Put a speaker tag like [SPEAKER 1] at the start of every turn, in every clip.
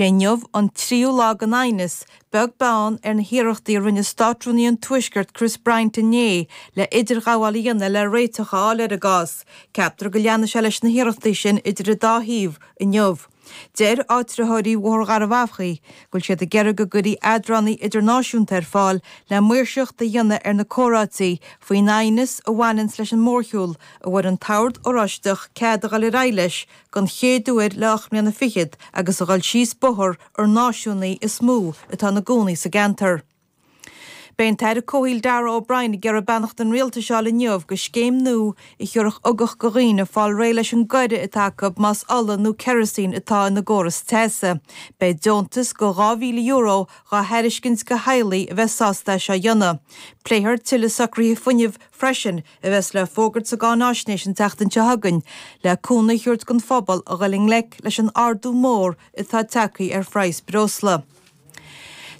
[SPEAKER 1] Inniu an tríú lá den aighneas, beag beann ar na hiarrachtaí a rinne Státrúnaí an Tuaiscirt Chris Bryant inné le idirghabháil a dhéanamh le réiteach a fháil ar an gcás. Ceaptar go leanfaidh sé leis na hiarrachtaí sin idir an dá thaobh inniu. Deir áitritheoirí Bhóthar Gharbh Achaidh go bhfuil siad ag iarraidh go gcuirfí eadránaí idirnáisiúnta ar fáil le maoirseacht a dhéanamh ar na comhráití faoin aighneas a bhaineanns leis an mórshiúl a bhfuair an tOrd Oráisteach cead a dhul ar aghaidh leis don chéad uair le 8 mbliana fichead agus a dhul síos bóthar ar náisiúnaigh is mó atá ina gcónaí sa gceantar. Beidh an tAire Comhshaoil Darragh O'Brien ag iarraidh beannacht an Rialtais a fháil inniu go scéim nua a thiúrfadh ugach go dhaoine fáil réidh leis an gcoire atá acu más ola nó kerosene atá ina gcóras teasa. Beidh deontas go €2,000 dhá thairiscint go theaghlaigh a bheas sásta é seo a dhéanamh. Pléifear tuilleadh socruithe fuinnimh freisin a bheas le fógairt sa gcáináisnéis an tseachtain seo chugainn, le cúnamh a thabhairt don phobal a dhul i ngleic leis an ardú mór atá tagtha ar phraghas breosla.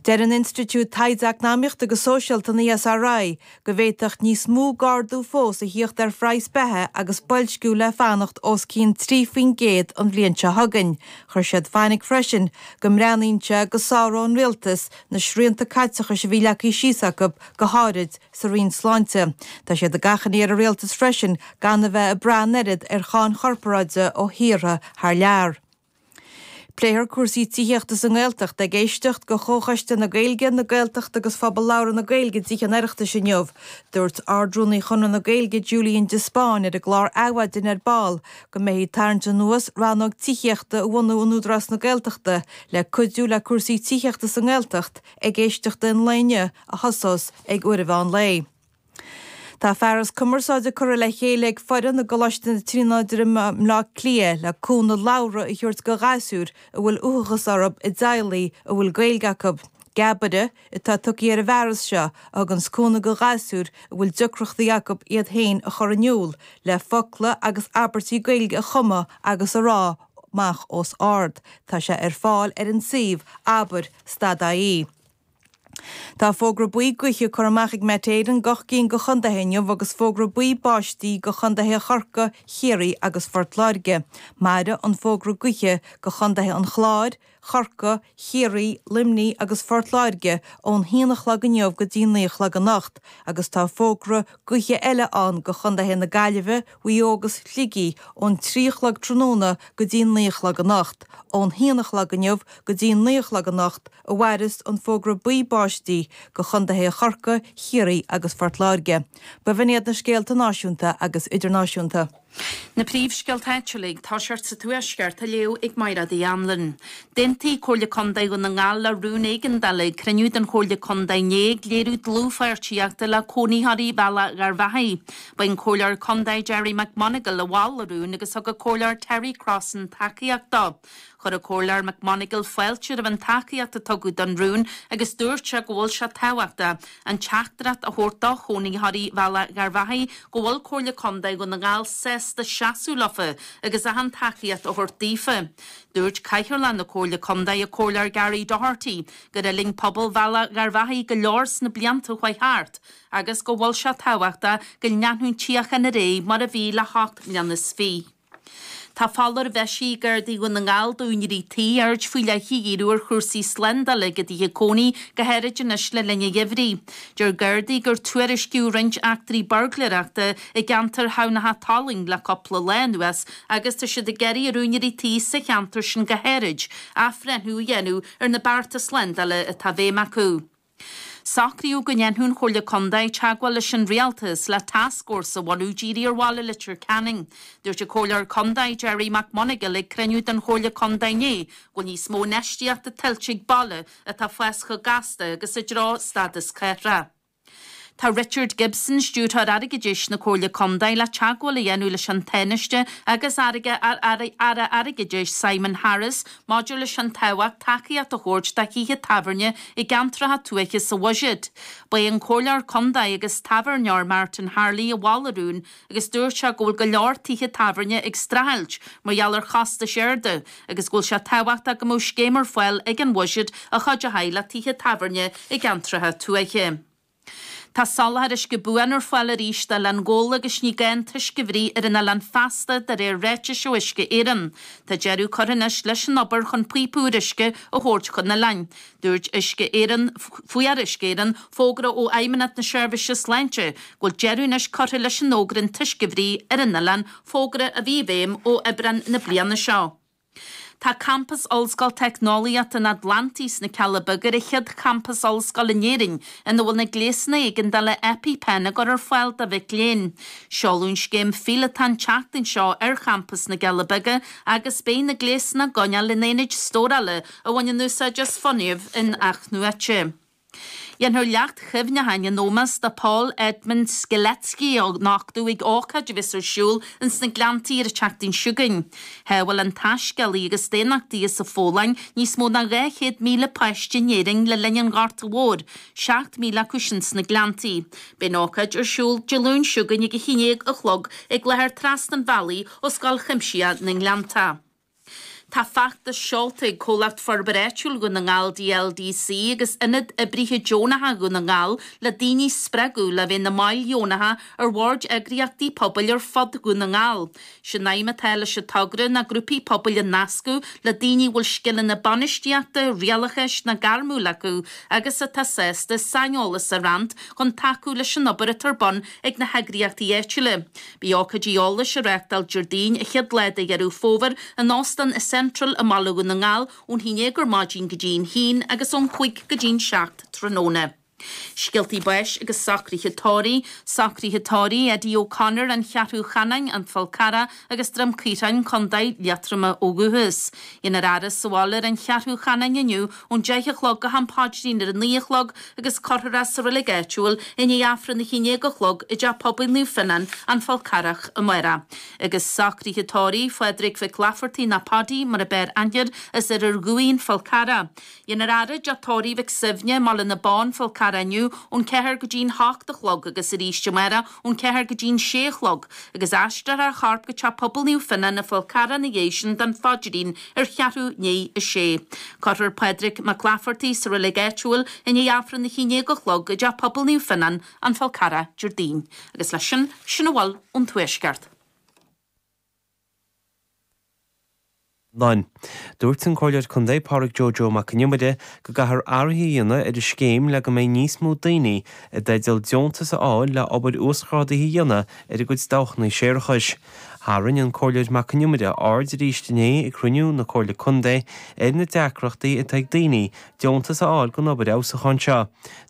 [SPEAKER 1] Deir an Institiúid Taighde Eacnamaíochta agus Sóisialta, an ESRI, go bhféadfadh níos mó d'ardú fós a thíocht ar phraghas beatha agus boilsciú le fanacht os cionn 3% an bhliain seo chugainn. Chuir siad fainic freisin go mbreathnaíonn sé go sáródh an rialtas na srianta caiteachais a bhí leagtha síos acu, go háirid sa Roinn Sláinte. Tá siad ag achainí ar an Rialtas freisin gan a bheith ag brath an oiread ar cháin chorparáide ó thíortha thar lear. Pléifear cúrsaí tithíochta sa nGaeltacht ag éisteacht go Chomhchoiste na Gaeilge, na Gaeltachta agus Phobal Labhartha na Gaeilge i dTithe an Oireachtais inniu. Dúirt Ard-Rúnaí Chonradh na Gaeilge Julian de Spáinn ar an gclár Adhmhaidin ar ball go mbeifí ag tarraingt anuas rannóg tithíochta a bhunú in Údarás na Gaeltachta le cuidiú le cúrsaí tithíochta sa nGaeltacht ag éisteacht an lae inniu a thosós ag uair an mheán lae. Tá fearas cumarsáide curtha le chéile ag foireann i gColáiste na Tríonóide i mBleá Cliath le cúnamh labhartha a thabhairt go ghasúir a bhfuil uathachas orthu i dteaghlaigh a bhfuil Gaeilge acu. Geabaire atá tugtha ar an bhfearas seo a thuganns cúnamh go ghasúir a bhfuil deacrachtaí acu iad féin a chur in iúl le focla agus abairtí Gaeilge a chumadh agus a rá amach os ard. Tá sé ar fáil ar an suíomh abair stad ie. Tá fógra buí gaoithe curtha amach ag Met Éireann d'ocht gcinn de chontaetha inniu agus fógra buí báistí do chontaetha Chorcaí, Chiarraí agus Phort Láirge. Mairfidh an fógra gaoithe do chontaetha an Chláir, Chorcaí, Chiarraí, Luimnigh agus Phort Láirge ón haon a chlog inniu go dtí naoi a chlog anocht agus tá fógra gaoithe eile ann do chontaetha na Gaillimhe, Mhaigh Eo agus Shligigh ón 3 a chlog tráthnóna go dtí 9 a chlog anocht. Ón haon a chlog inniu go dtí 9 a chlog anocht a mhairfeas an fógra buí báistí do chontaetha Chorcaí, Chiarraí agus Phort Láirge. B'in iad na scéalta náisiúnta agus idirnáisiúnta.
[SPEAKER 2] Na príomhscéalta áitiúla ag toiseacht sa Tuaisceart á léamh ag Mairéad Uí Anluain. D'aontaigh Comhairle Contae Dhún na nGall le rún éigeandála ag cruinniú den Chomhairle Contae inné ag léiriú dlúthpháirtíochta le cónaitheoirí Bhealach Gharbhachaidh. Ba é an Comhairleoir Contae Gerry McMonagall a mhol an rún agus thug an Comhairleoir Terry Crossan tacaíocht dó. Chuir an Comhairleoir McMonagall fáilte roimh an tacaíocht a tugadh don rún agus dúirt sé go bhfuil sé tábhachtach an teachtaireacht a thabhairt do chónaitheoirí Bhealach Gharbhachaidh go bhfuil Comhairle Contae Dhún na nGall sásta seasamh leofa agus achan tacaíocht a thabhairt daofa. Dúirt Cathaoirleach na Comhairle Contae, an Comhairleoir Gary Doherty, gur fhulaing pobal Bhealach Gharbhachaidh go leor sna blianta a chuaigh thart agus go bhfuil sé tábhachtach go leanfadh an tsíocháin ar aghaidh mar a bhí le hocht mbliana is fiche. Tá foláireamh eisithe ag Gardaí Dhún na nGall d'úinéirí tí aird faoi leith a dhíriú ar chúrsaí slándála ag a dtithe cónaí, go háirid anois le linn an gheimhridh. Deir Gardaí gur tuairiscíodh roinnt eachtraí buirgléireachta i gceantar Thamhnacha Tolaing le cúpla lá anuas agus tá siad ag iarraidh ar úinéirí tí sa cheantar sin go háirid athbhreithniú a dhéanamh ar na bearta slándála atá i bhfeidhm acu. Socraíodh go ndéanfadh an Chomhairle Contae teagmháil leis an Rialtas le tascfhórsa a bhunú dírithe ar bhaile Leitir Ceanainn. Dúirt an Comhairleoir Contae Gerry McMonagall ag cruinniú den Chomhairle Contae inné go bhfuil níos mó infheistíochta tuillte ag baile atá ag fás chomh gasta agus i dtreo stádas cathrach. Tá Richard Gibson, Stiúrthóir Airgeadais na Comhairle Contae, le teagmháil a dhéanamh leis an Tánaiste agus Aire Airgeadais Simon Harris maidir leis an tábhacht tacaíocht a thabhairt do thithe tábhairne i gceantracha tuaithe sa bhuiséad. Ba é an Comhairleoir Contae agus tábhairneoir Martin Harley a mhol an rún agus dúirt sé go bhfuil go leor tithe tábhairne ag streachailt mar gheall ar chostais arda agus go bhfuil sé tábhachtach go mbeadh scéim ar fáil ag an bhuiséad a chuideoidh le tithe tábhairne i gceantracha tuaithe. Tá soláthar uisce buan ar fáil arís d'Oileán Ghabhla agus ní gá an t-uisce a bhruith ar an oileán feasta de réir ráitis ó Uisce Éireann. Tá deireadh curtha anois leis an obair chun píopa úr uisce a thabhairt chun an oileáin. Dúirt Uisce Éireann, Fuair Uisce Éireann fógra ó Fheidhmeannacht na Seirbhíse Sláinte go bhfuil deireadh anois curtha leis an fhógra an t-uisce a bhruith ar an oileán, fógra a bhí i bhfeidhm ó Aibreán na bliana seo. Tá campas Ollscoil Teicneolaíochta an Atlantaigh sna Cealla Beaga ar an chéad champas ollscoile in Éirinn ina bhfuil na gléasanna éigeandála EpiPen á gcur ar fáil do mhic léinn. Seoladh an scéim phíolótach an tseachtain seo ar champas na gCealla Beaga agus beidh na gléasanna á gcoinneáil in aonaid stórála a bhaineann úsáid as fuinneamh in-athnuaite. Déanfar leacht chuimhneacháin in ómós do Paul Edmund Strzelecki a nochtadh ag ócáid a bheas ar siúl ins na Gleanntaí ar an tseachtain seo chugainn. Shábháil an taiscéalaí agus daonnachtaí as an Pholainn níos mó ná 200,000 páiste in Éirinn le linn an Ghorta Mhóir, 7,000 acu sin sna Gleanntaí. Beidh an ócáid ar siúl Dé Luain seo chugainn ag a 11 a chlog ag láthair trasna an bhealaigh ó Scoil Chuimsitheach na nGleanntach. Tá feachtas seolta ag Comhlacht Forbartha Áitiúil Dhún na nGall, DLDC, agus Ionad Oibrithe Deonacha Dhún na nGall le daoine a spreagadh le bheith ina mbaill dheonacha ar bhoird eagraíochtaí pobail ar fud Dhún na nGall. Sé'n aidhm atá leis an togra ná grúpaí pobail a nascadh le daoine a bhfuil scileanna bainistíochta, rialachais ná gairmiúil acu agus atá sásta saineolas a roinnt chun tacú leis an obair atá ar bun ag na heagraíochtaí áitiúla. Beidh ócáidí eolais á reáchtáil Déardaoin, an chéad lá de Dheireadh Fómhair, in Óstán an Central i mBaile Dhún na nGall ón 11 ar maidin go dtí an haon agus ón 5 go dtí'n 7 tráthnóna. Scéaltaí báis agus socruithe tórraimh, Socruithe tórraimh Eddie O'Connor, An Cheathrú Chanáin, An Fál Carrach agus Droim Caorthainn, Co. Liatroma ó dhúchas. Déanfar a fhaire sa bhaile ar An Cheathrú Chanáin inniu ón 10 a chlog go ham paidrín ar a 9 a chlog agus cuirfear é sa reilig áitiúil i ndiaidh Aifreann a 11 a chlog i dTeach Pobail Naomh Fionnán, An Fál Carrach, amárach. Agus socruithe tórraimh Phádraig Mhic Laifeartaigh nó Paddy mar ab fhearr aithne air as Oirear Dhuibhigh, An Fál Carrach. Déanfar a fhaire i dTeach Tórraimh Mhic Suibhne, i mBaile na Bó, An Fál Carrach inniu ón 4 go dtí'n 8 a chlog agus arís amárach ón 4 go dtí'n 6 a chlog agus aistreofar a chorp go Teach Pobail Naomh Fionnán, An Fál Carrach ina dhiaidh sin don phaidrín ar cheathrú i ndiaidh a sé. Cuirfear Pádraig Mac Laifeartaigh sa reilig áitiúil i ndiaidh Aifreann a 11 a chlog i dTeach Pobail Naomh Fionnán, An Fál Carrach, Déardaoin. Agus leis sin, sin a bhfuil ón Tuaisceart.
[SPEAKER 3] Lonn. Dúirt an Comhairleoir Contae Pádraig Joe Joe Mac an Iomaire go gcaithfear athruithe a dhéanamh ar an scéim le go mbeidh níos mó daoine i dteideal deontas a fháil le obair uasghrádaithe a dhéanamh ar a gcuid dabhchanna séarachais. Tharraing an Comhairleoir Mac an Iomaire aird arís inné ag cruinniú na Comhairle Contae ar na deacrachtaí atá ag daoine deontas a fháil don obair fheabhsúcháin seo.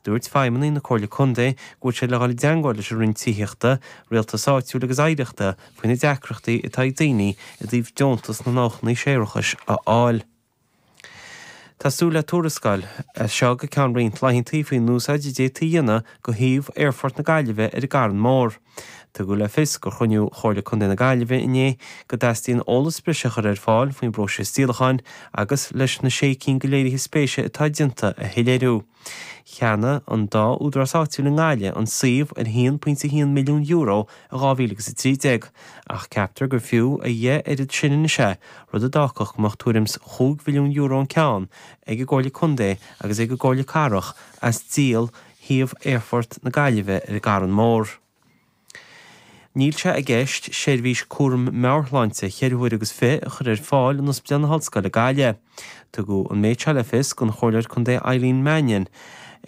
[SPEAKER 3] Dúirt feidhmeannaigh na Comhairle Contae go bhfuil siad le dhul i dteangmháil leis an Roinn Tithíochta, Rialtais Áitiúil agus Oidhreachta faoi na deacrachtaí atá ag daoine i dtaobh deontas na ndabhchanna séarachais a fháil. Tá súil le tuarascáil as seo go ceann roinnt laethanta faoin úsáid a d'fhéadfaí a dhéanamh de shuíomh Aerfort na Gaillimhe ar an gCarn Mór. Tugadh le fios ag cruinniú Chomhairle Contae na Gaillimhe inné go dteastaíonn eolas breise a chur ar fáil faoin bpróiseas díolacháin agus leis na sé cinn de léirithe spéise atá déanta a shoiléiriú. Cheannaigh an dá údarás áitiúil i nGaillimh an suíomh ar €1.1 milliún i 2013, ach ceaptar gur fiú a dheich oiread sin anois é, rud a d'fhágfadh go mbeadh tuairim 's €5 mhilliún an ceann ag an gComhairle Contae agus ag an gComhairle Cathrach as díol shuíomh Aerfort na Gaillimhe ar an gCarn Mór. Níl sé i gceist seirbhís cúram meabhairshláinte cheithre huaire agus fiche a chur ar fáil in Ospidéal na hOllscoile Gaillimh. Tugadh an méid seo le fios don Chomhairleoir Contae Eileen Mannion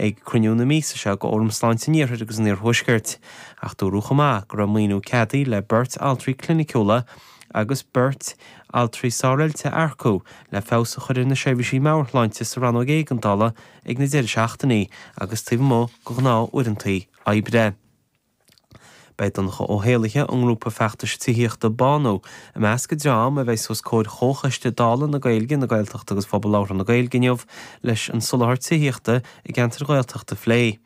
[SPEAKER 3] ag cruinniú na míosa seo de Fhóram Sláinte an Iarthair agus an Iarthuaiscirt. Ach dúradh chomh maith go raibh maoiniú ceadaithe le beirt altraí cliniciúla agus beirt altraí sároilte a earcú le feabhas a chur ar na seirbhísí meabhairshláinte sa rannóg éigeandála ag na deireadh seachtainí agus taobh amuigh de ghnáth uaireanta oibre. Beidh Donncha Ó hÉallaithe ón ngrúpa feachtais tithíochta Bánú i measc an dream a bheidh os comhair Chomhchoiste Dála na Gaeilge, na Gaeltachta agus Phobal Labhartha na Gaeilge inniu leis an soláthar tithíochta i gceantair Ghaeltachta a phlé.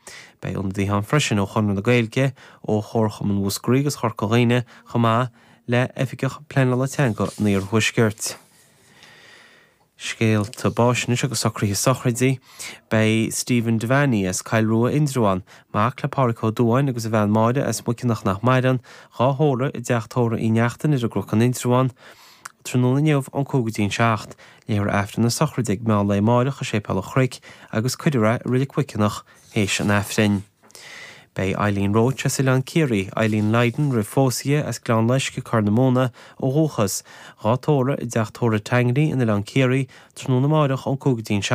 [SPEAKER 3] Beidh ionadaithe ann freisin ó Chonradh na Gaeilge, ó Chomharchumann Mhúscraí agus Chorca Dhuibhne chomh maith le Oifigeach Pleanála Teanga an Iarthuaiscirt. Scéalta báis anois agus socruithe sochraide. Beidh Stephen Devaney as Coill Rua, Indreabhán, mac le Pádhraic Ó Dubháin agus a bhean Máire as Muiceanach nach maireann, dhá thórramh i dteach tórraimh Uí Neachtain ar an gCnoc in Indreabhán, tráthnóna inniu ón 5 go dtí an 7. Léifear Aifreann na sochraide ag meán lae amáireach i Séipéal an Chnoic agus cuirfear é i Reilig Mhuiceanach théis an Aifrinn. Beidh Eileen Roche as Oileán Ciarraí, Eileen Lydon roimh phósadh di, as Gleann Loiscthe, Corr na Móna ó dhúchas, dhá tórramh i dTeach Tórraimh Tangney in Oileán Ciarraí tráthnóna amáireach ón 5 go dtí an 7.